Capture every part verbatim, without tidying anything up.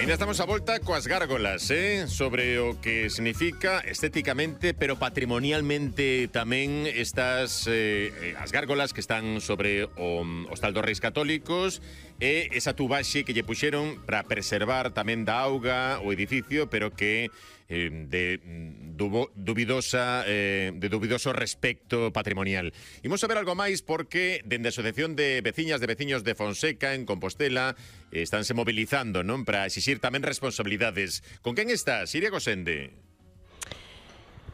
Ainda estamos a volta coas gárgolas, eh? Sobre o que significa estéticamente, pero patrimonialmente tamén estas eh, as gárgolas que están sobre o Hostal dos Reis Católicos e esa tubaxe que lle puxeron para preservar tamén da auga o edificio, pero que eh, de dubo, dubidosa eh, de dubidoso respecto patrimonial. Imos a ver algo máis porque dende a Asociación de Veciñas de Veciños de Fonseca en Compostela eh, estánse mobilizando, non, para exixir tamén responsabilidades. Con quen estás, Iria Gosende?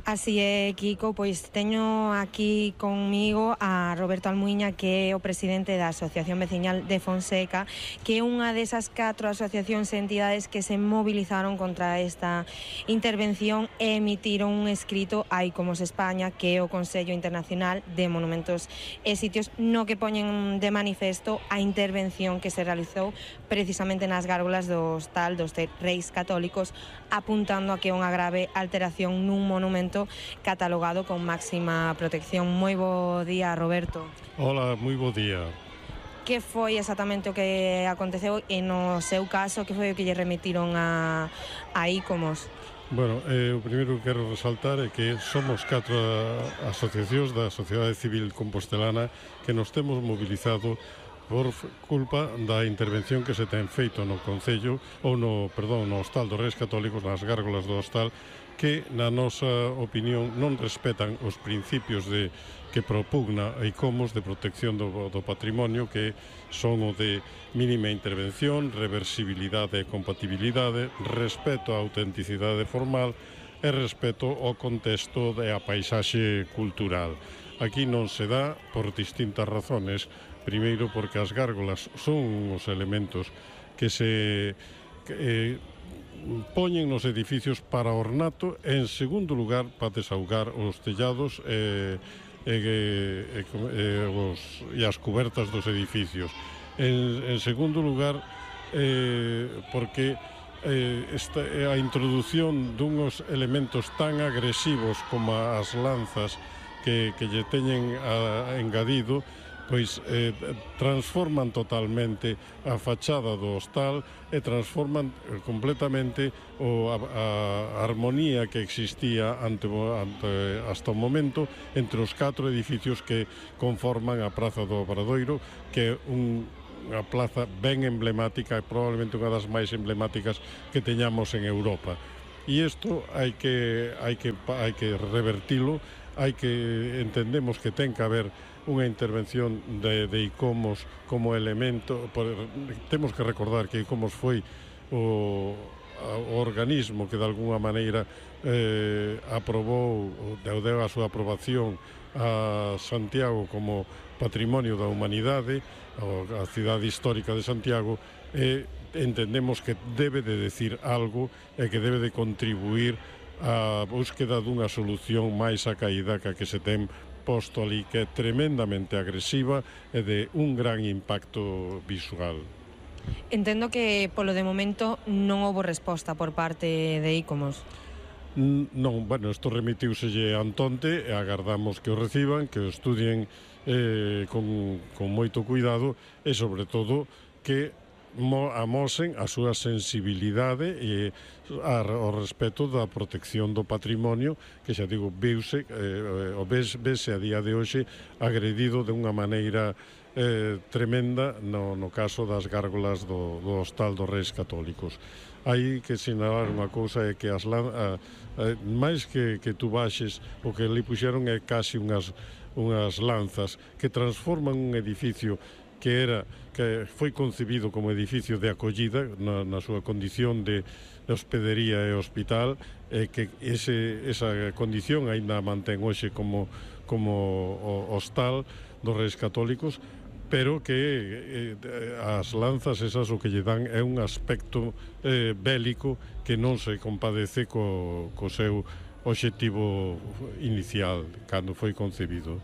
Así é, Kiko, pois teño aquí conmigo a Roberto Almuiña, que é o presidente da Asociación Veciñal de Fonseca, que é unha desas catro asociacións e entidades que se movilizaron contra esta intervención e emitiron un escrito a ICOMOS España, que é o Consello Internacional de Monumentos e Sitios, no que poñen de manifesto a intervención que se realizou precisamente nas gárgolas do Hostal dos Reis Católicos, apuntando a que é unha grave alteración nun monumento catalogado con máxima protección. Moi bo día, Roberto. Hola, moi bo día. Que foi exactamente o que aconteceu e no seu caso, que foi o que lle remitiron a, a ICOMOS? Bueno, eh, o primeiro que quero resaltar é que somos catro asociacións da sociedade civil compostelana que nos temos mobilizado por culpa da intervención que se ten feito no Concello ou no, perdón, no Hostal dos Reis Católicos, nas gárgolas do Hostal, que na nosa opinión non respetan os principios de que propugna a ICOMOS de protección do, do patrimonio, que son o de mínima intervención, reversibilidade e compatibilidade, respeto á autenticidade formal e respeto ao contexto e á paisaxe cultural. Aquí non se dá por distintas razones. Primeiro, porque as gárgolas son os elementos que se que, eh, poñen nos edificios para ornato e, en segundo lugar, para desaugar os tellados e, e, e, e, os, e as cubertas dos edificios. En, en segundo lugar, eh, porque eh, esta, a introdución dunhos elementos tan agresivos como as lanzas que, que lle teñen a, a engadido, pois eh, transforman totalmente a fachada do hostal e transforman eh, completamente o, a, a armonía que existía ante, ante, hasta o momento entre os catro edificios que conforman a Praza do Obradoiro, que é un, unha plaza ben emblemática e probablemente unha das máis emblemáticas que teñamos en Europa. E isto hai que, hai que, hai que revertilo, hai que entendemos que ten que haber unha intervención de, de ICOMOS como elemento. Por, temos que recordar que ICOMOS foi o, o organismo que de alguna maneira eh, aprobou, deu, deu a súa aprobación a Santiago como patrimonio da humanidade, a cidade histórica de Santiago, e entendemos que debe de decir algo e que debe de contribuir á búsqueda dunha solución máis acaída que a que se ten posto ali, que é tremendamente agresiva e de un gran impacto visual. Entendo que polo de momento non houbo resposta por parte de ICOMOS. Non, bueno, isto remitiuselle Antonte e agardamos que o reciban, que o estudien eh, con, con moito cuidado e, sobre todo, que amosen a súa sensibilidade e ao respeto da protección do patrimonio, que xa digo, viuse, eh, o ves, vese a día de hoxe agredido de unha maneira eh, tremenda no, no caso das gárgolas do, do Hostal dos Reis Católicos. Hai que sinalar unha cousa, é que as lan, a, a, máis que, que tú baixes, o que ali puxeron é casi unhas, unhas lanzas que transforman un edificio que era que foi concebido como edificio de acollida na, na súa condición de, de hospedería e hospital, e que ese, esa condición aínda mantén hoxe como, como o hostal dos Reis Católicos, pero que eh, as lanzas esas o que lle dan é un aspecto eh, bélico que non se compadece co, co seu obxectivo inicial cando foi concebido.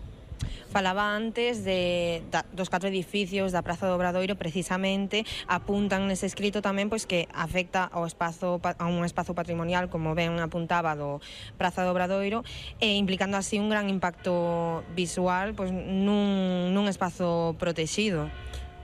Falaba antes de, da, dos catro edificios da Praza do Obradoiro, precisamente apuntan nese escrito tamén pois que afecta ao espazo, a un espazo patrimonial, como ben apuntaba, do Praza do Obradoiro, e implicando así un gran impacto visual pois nun, nun espazo protegido.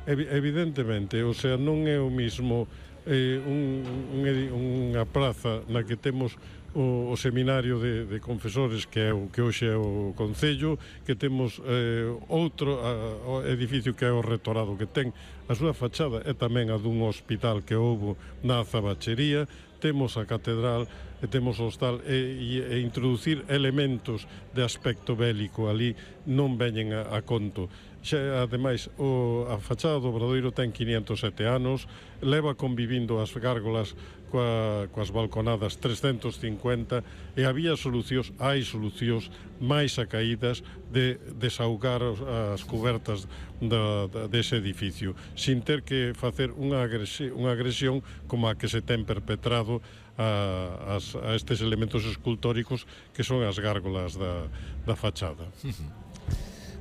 Evidentemente, o sea, non é o mismo eh, un, un, unha praza na que temos o, o seminario de, de confesores que é o que hoxe é o Concello, que temos eh, outro a, o edificio que é o Rectorado, que ten a súa fachada e tamén a dun hospital que houbo na Azabachería, temos a catedral e temos o hostal e, e, e introducir elementos de aspecto bélico ali non veñen a, a conto. Xa, ademais, o, a fachada do Obradoiro ten quinientos e sete anos, leva convivindo as gárgolas coa, coas balconadas trescentos cincuenta e había solucións, hai solucións máis acaídas de desaugar as cubertas da, da, dese edificio, sin ter que facer unha agresión, unha agresión como a que se ten perpetrado a, a, a estes elementos escultóricos que son as gárgolas da, da fachada.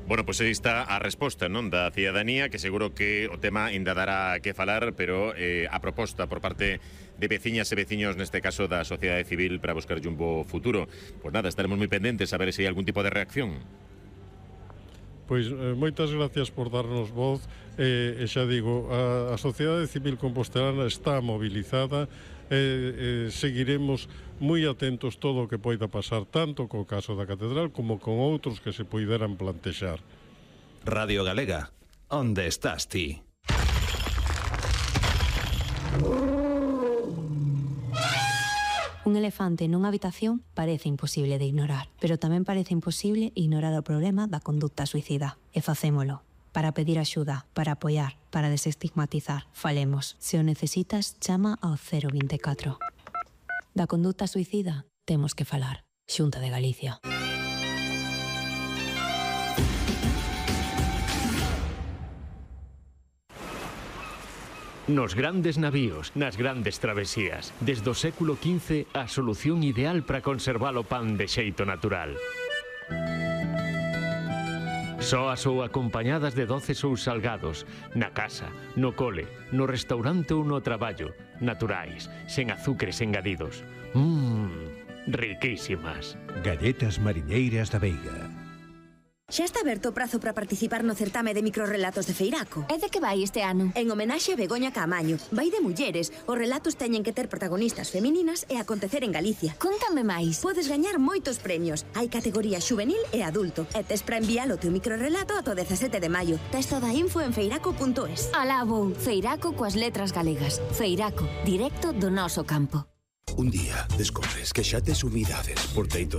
Bueno, pois aí está a resposta, non, da cidadanía, que seguro que o tema ainda dará que falar, pero eh, a proposta por parte de veciñas e veciños, neste caso da sociedade civil, para buscar un bo futuro. Pois nada, estaremos moi pendentes a ver se hai algún tipo de reacción. Pois eh, moitas gracias por darnos voz, eh, e xa digo, a, a sociedade civil compostelana está mobilizada, e eh, seguiremos moi atentos todo o que poida pasar, tanto co caso da catedral como con outros que se poideran plantexar. Radio Galega, onde estás ti? Un elefante nunha habitación parece imposible de ignorar, pero tamén parece imposible ignorar o problema da conducta suicida. E facémolo. Para pedir axuda, para apoiar, para desestigmatizar. Falemos. Se o necesitas, chama ao cero vinte e catro. Da conduta suicida, temos que falar. Xunta de Galicia. Nos grandes navíos, nas grandes travesías, desde o século quince, a solución ideal para conservar o pan de xeito natural. Soas ou acompañadas de doces ou salgados, na casa, no cole, no restaurante ou no traballo, naturais, sen azúcares engadidos. Mmm, riquísimas. Galletas mariñeiras da Veiga. Xa está aberto o prazo para participar no certame de microrelatos de Feiraco. E de que vai este ano? En homenaxe a Begoña Caamaño. Vai de mulleres. Os relatos teñen que ter protagonistas femininas e acontecer en Galicia. Contame máis. Podes gañar moitos premios. Hai categoría xuvenil e adulto. E tes para enviar o teu microrelato ata o dezasete de maio. Tes toda a info en feiraco punto es. Alá vou. Feiraco coas letras galegas. Feiraco, directo do noso campo. Un día descobres que xa tes unidades por teito